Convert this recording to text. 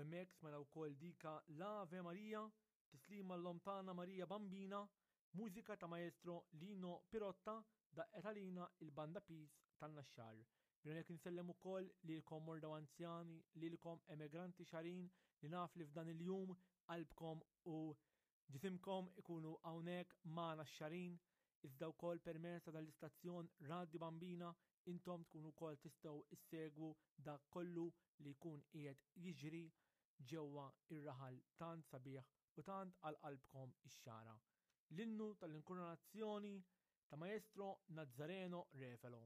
Hemmhekk smajna wkoll dika l-Ave Maria, tislima l-Omm tagħna Marija Bambina, mużika ta' Maestro Lino Pirotta daqqet għalina il-Banda Peace tan-Naxxar. Minn hawnhekk insellem ukoll lilkom morda u anzjani, lilkom emigranti xarin li naf li f'dan il-jum qalbkom u Ġisimkom ikunu hawnhekk magħna x-Xagħrin, iżda wkoll permezz ta' dan l-istazzjon Radju Bambina intom tkunu wkoll tistgħu issegwu dak kollu li jkun qiegħed jiġri ġewwa ir-raħal tant sabiħ u tant għal qalbkom ix-Xagħra. L-innu tal-inkurunazzjoni ta' Maestro Nazzareno Refelo.